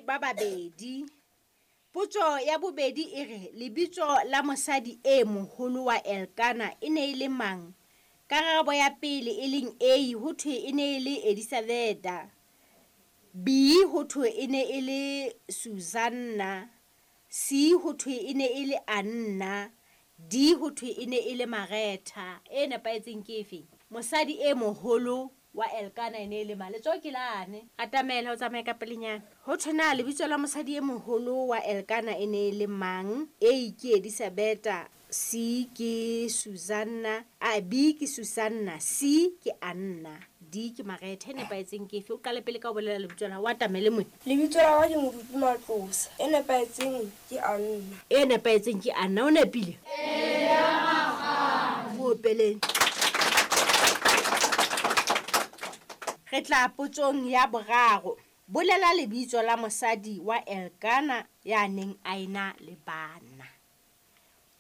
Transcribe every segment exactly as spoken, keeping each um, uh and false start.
ba babedi. Potso ya bobedi e re lebitso la mosadi e moholo wa Elkana e ne e le mang? Karabo ya pele e leng A ho thwe e ne e le Elizabetha. B ho thwe e ne e le Susanna. C ho thwe e ne e le Anna. D ho thwe e ne e le Maretha. E nepahetseng ke efe? Mosadi e moholo wa Elkana e ne e le mang? Letsoho ke lane. Atamela o tsamaye ka pelenyana. Ho thwe na lebitso la mosadi e moholo wa Elkana e ne e le mang? A ke Elizabetha, C ke Susanna, a B ke Susanna, C ke Anna, D ke Maretha. E nepahetseng ke efe? O qale pele ka ho bolela lebitso la hao, o atamele mona. Lebitso la ka ke Moruti Matlosa. E nepahetseng ke Anna. E nepahetseng ke Anna. O nepile? Eya rakgadi. Mo opeleng. Re tla potsong ya boraro. Bolela lebitso la mosadi wa Elkana ya neng a ena le bana.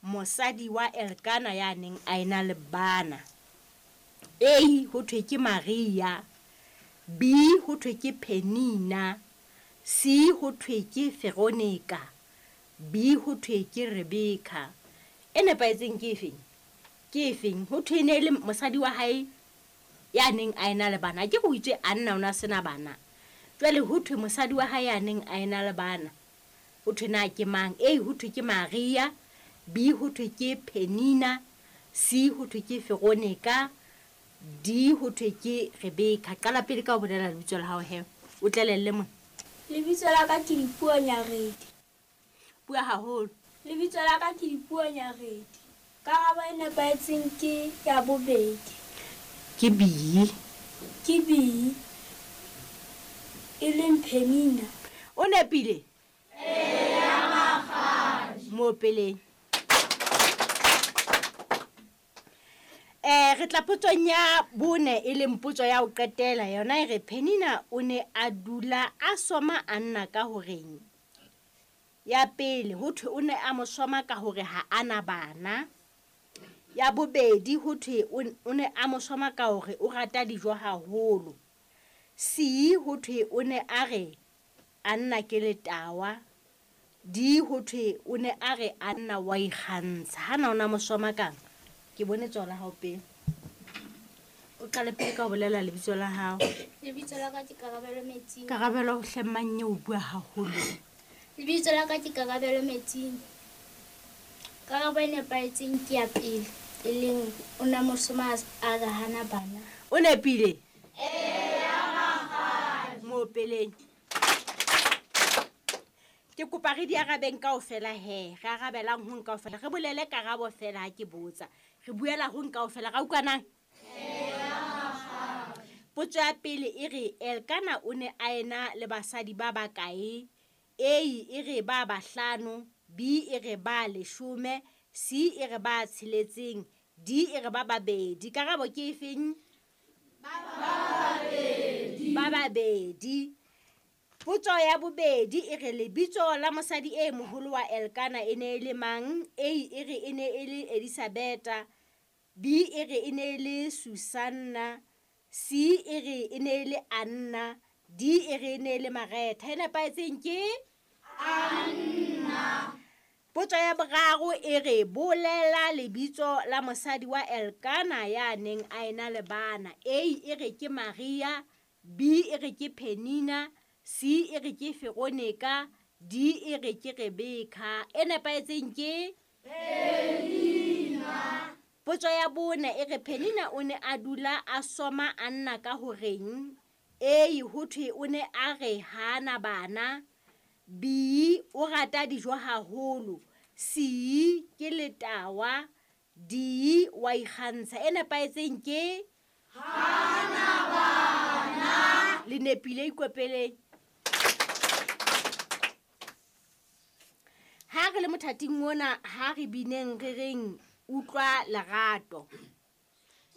Mosadi wa Elkana ya neng a ena le bana. A ho thwe ke Maria, B ho thwe ke Penina, C ho thwe ke Veronica, B ho thwe ke Rebecca. E nepahetseng ke efeng? Ke efeng? Ho thwe e ne e le mosadi wa hae ya neng a ena le bana. Ke go itse Anna o na sena bana. Jwale ho thwe mosadi wa hae ya neng a ena le bana. Ho thwe na ke mang? A ho thwe ke Maria, B ho thwe ke Penina, C ho thwe ke Veronica, D ho thwe ke Rebecca. Qala pele ka ho bolela lebitso la hao he. O tlelelle mona. Lebitso la ka ke Dipuo Nyaredi. Bua haholo. Lebitso la ka ke Dipuo Nyaredi. Karabo e nepahetseng ke ya bobedi. Ke B. Ke B. E leng Penina. O nepile? Eya rakgadi. Mo opeleng. Eh re tla potsong ya bone e leng potso ya ho qetela yona e re Penina o ne a dula a soma Anna ka horeng. Ya pele ho thwe o ne a mo soma ka hore ha ana bana. Ya bobedi ho thwe o ne a mo soma ka hore o rata dijo haholo. C ho thwe o ne a re Anna ke letawa. D ho thwe o ne a re Anna wa ikgantsha. Hana ona mo soma kang? Ke bone tsona hao pele. O qale pele ka ho bolela lebitso la hao. Lebitso la ka ke Karabelo Metsing. Karabelo hle mannye o bua haholo. Lebitso la ka ke Karabelo Metsing. Karabo e nepahetseng ke ya pele, e leng o na mo soma a re hana bana. O nepile? Eya rakgadi. Mo opeleng. Ke kopa re di arabeng kaofela he. Re arabelang ho kaofela. Re bolele karabo fela ha ke botsa. Re buela ho kaofela. Ra utlwanang? Eya rakgadi. Potso ya pele e re Elkana o ne a ena le basadi ba bakae? A e re ba bahlano, B e re ba leshome, C e re ba tsheletseng, D e re ba babedi. Karabo ke efeng? Ba babedi. Ba babedi. Potso ya bobedi e re lebitso la mosadi e moholo wa Elkana e ne e le mang? A e re e ne e le Elizabetha, B e re e ne e le Susanna, C e re e ne e le Anna, D e re e ne e le Maretha. E nepahetseng ke Anna. Potso ya boraro e re bolela lebitso la mosadi wa Elkana ya neng a ena le bana. A e re ke Maria, B e re ke Penina, C e re ke Veronica, D e re ke Rebecca. E nepahetseng ke Penina. Potso ya bone e re Penina o ne a dula a soma Anna ka horeng? A ho thwe o ne a re hana bana, B o rata dijo haholo, C ke letawa, D wa ikgantsha. E nepahetseng ke hana bana. Le nepile, ikopeleng. Ha re le mothating ona ha re bineng re reng utlwa lerato.